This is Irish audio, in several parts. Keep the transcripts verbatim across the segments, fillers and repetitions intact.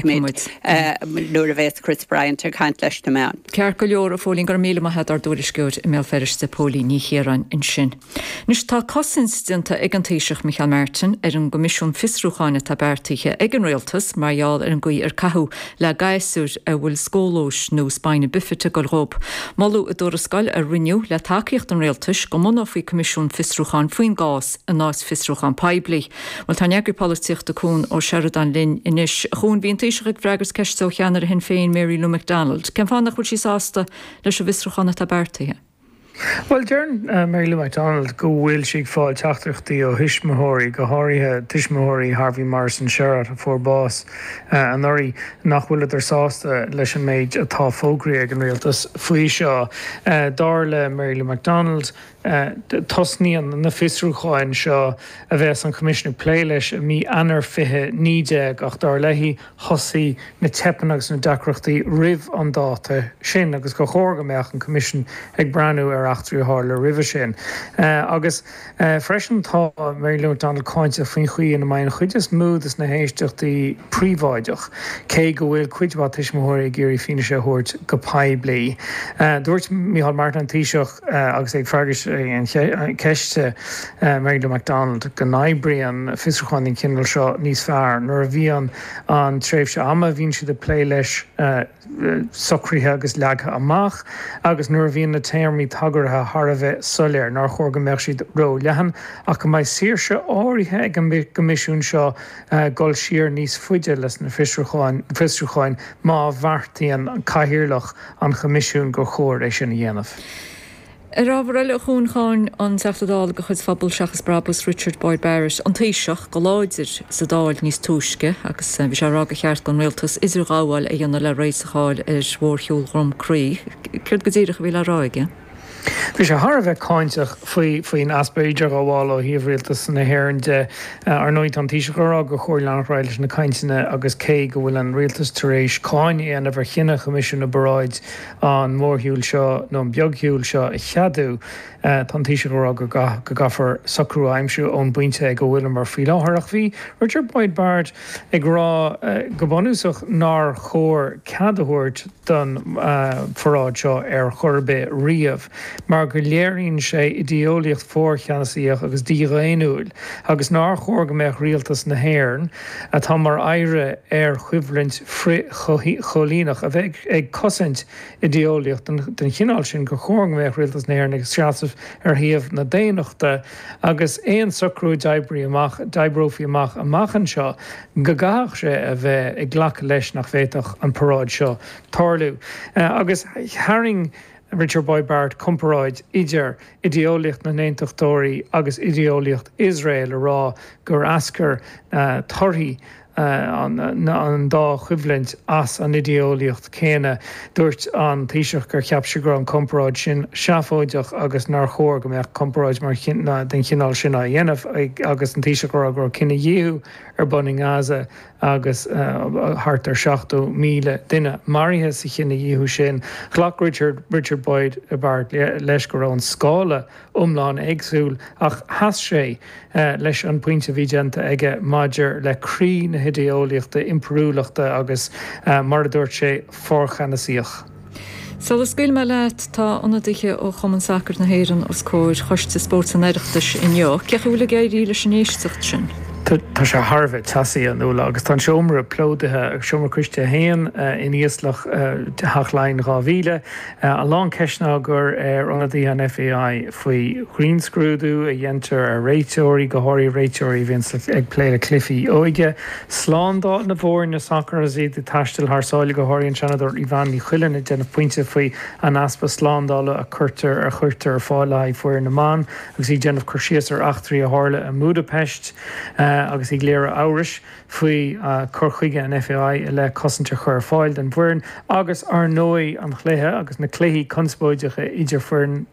Feicfimid nuair a bheas Chris Bryant ag caint leis na meáin. Ceart go leor a Phóilín go raibh míle maith agat ár dtuairisceoir i mBéal Feirste Póilín Ní Chiaráin ansin. Anois tá cosaint déanta ag an Taoiseach Micheál Martin ar an gCoimisiún Fiosrúcháin atá beartaithe ag an rialtas mar gheall ar an gcaoi ar caitheadh le gasúir a bhfuil scólóis nó spina bifida ag gabháil dóibh. Moladh i dtuarascáil a rinneadh le tacaíocht an rialtais go mbunófaí Coimisiún Fiosrúcháin faoin gcás in áit fiosrúchán poiblí. Well tá eagraí polaitíochta Cuan Ó Seireadáin linn anois chun bhí an Taoiseach ag freagairt ceiste ó cheannaire Shinn Féin Mary Lou McDonald. Cén fáth nach bhfuil sí sásta leis an bhfiosrúchán atá beartaithe? Well deir uh, Mary Lou McDonald go bhfuil sí ag fáil teachtaireachtaí ó thuismitheoirí go háirithe tuismitheoirí Harvey Morrison Sherratt a fuair bás uh, anuraidh nach bhfuileadar sásta leis an méid atá fógraithe ag an rialtas faoi seo. Uh, dar le Mary Lou McDonald uh, tosnaíonn na fiosrúcháin seo a bheas an Coimisiún ag plé leis i mí Eanáir fiche naoi déag ach dar léi thosaigh na teipeanna agus na deacrachtaí roimh an dáta sin agus gur chóir go mbeadh an Coimisiún ag breathnú ar eachtraí a tharla roimhe sin. Uh, agus uh, freisin tá Mary Lou McDonald cáinteach faoin chaoi ina mbeidh an chuid is mó de na héisteachtaí príobháideach, cé go bhfuil cuid mhaith tuismitheoirí ag iarraidh fianaise a thabhairt go poiblí. Uh, dúirt Micheál Martin an Taoiseach uh, agus ag freagairt an ceiste uh, Mary Lou McDonald go n-oibríonn fiosrúchán den chineál seo níos fearr nuair a bhíonn an tréimhse ama bhíonn siad ag plé leis uh, socraithe agus leagtha amach agus nuair a bhíonn na téarmaí tagartha thar a bheith soiléir nár chóir go mbeadh siad ró-leathan ach go mbeidh saoirse áirithe ag an gcoimisiún seo uh, dul siar níos faide leis na fiosrúcháin má bheartaíonn an cathaoirleach an choimisiúin gur chóir é sin a dhéanamh. Ar ábhar eile chun cháin an Teachta Dála de chuid Phobal Seachas Brabús Richard Boyd Barrett an Taoiseach go láidir sa Dáil níos túisce agus bhí sé ag rá gur cheart don rialtas idirghabháil a dhéanamh le réiteach a fháil ar mhórshiúl Dhroim Crí. Céard go díreach a bhí le rá aige? Bhí sé thar a bheith cáinteach faoi faoin easpa idirghabhála ó thaobh rialtas na hÉireann de ar ndóigh an Taoiseach ag rá gur chóir leanacht leis na cainteanna agus cé go bhfuil an rialtas tar éis cáineadh a dhéanamh ar chinneadh Choimisiún na bParáidí an mórshiúl seo nó an beagshiúl seo a cheadú tá an Taoiseach ag rá go go gcaithfear socrú a aimsiú ón bpointe go bhfuil mar faoi láthair ach bhí Richard Boyd Barrett ag rá go bunúsach nár chóir cead a thabhairt don pharáid seo ar chor ar bith riamh mar go léiríonn sé idéolaíocht forcheannasaíoch agus dídhaonnúil agus nár chóir go mbeadh rialtas na hÉireann atá mar oidhre ar choimhlint frith-choilíneach a bheith ag cosaint idéolaíocht den chineál sin gur chóir go mbeadh rialtas na hÉireann ag seasamh ar thaobh na daonnachta agus aon socrú a d'oibrigh amach d'oibreofaí amach amach anseo go gcaithfeadh sé a bheith ag glacadh leis nach bhféadfadh an paráid seo tarlú. Agus tharraing Richard Boyd Barrett comparáid idir idéolaíocht na n-aontachtóirí agus idéolaíocht Iosrael a rá gur eascair uh, torthaí uh, an, an dá choimhlint as an idéolaíocht céanna dúirt an Taoiseach gur cheap sé go raibh an comparáid sin seafóideach agus nár chóir go mbeadh comparáid mar den chineál sin á dhéanamh agus an Taoiseach ag rá go raibh cinedhíothú ar bun i nGaza agus uh, thart ar seachtó míle duine maraithe sa chinedhíothú sin. Ghlac Richard, Richard Boyd Barrett leis go raibh an scála iomlán éagsúil ach sheas sé uh, leis an pointe bhí déanta aige maidir le croí na hidéolaíochta impiriúlachta agus uh, mar a dúirt sé forcheannasaíoch. Sula scaoilfidh mé leat tá ionadaithe ó Chumann Sacair na hÉireann os comhair Choiste Spóirt an Oireachtais inniu, cén chaoi a bhfuil ag éirí leis an éisteacht sin. Tá sé thar a bheith teasaí an uile agus tá seomra plódaithe seomra coiste haon in íoslach Theach Laighean dhá mhíle. A lán ceisteanna á gcur ar ionadaithe an FAI faoi ghrinnscrúdú a dhéantar ar réiteoirí go háirithe réiteoirí a bhíonn ag plé le cluichí óige. Slándáil na bhfoirne sacair agus iad ag taisteal thar sáile go háirithe an Seanadóir Yvonne Ní Chuilinn ag déanamh pointe faoi an easpa slándála a chuirtear ar chuirtear ar fáil le haghaidh foireann na mban agus í ag déanamh cur síos ar eachtraí a tharla i mBudapest. Agus ag léiriú amhrais faoi cur chuige an FAI le cosaint a chur ar fáil don bhfoireann agus ar ndóigh an chluiche agus na cluichí conspóideacha idir foireann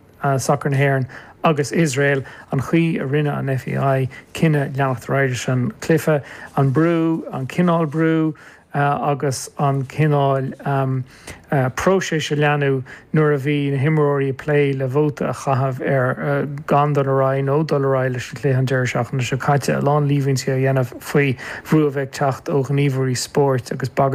sacair na hÉireann agus Iosrael an chaoi a rinne an FAI cinneadh leanacht ar aghaidh leis an cluiche, an brú, an cineál brú agus an cineál próiseas a leanadh nuair a bhí na himreoirí ag plé le vóta a chaitheamh ar gan dul ar aghaidh nó dul ar aghaidh leis an chluiche an deireadh seachtaine seo caite, a lán líomhaintí á dhéanamh faoi bhrú a bheith ag teacht ó ghníomhairí spóirt agus bagairt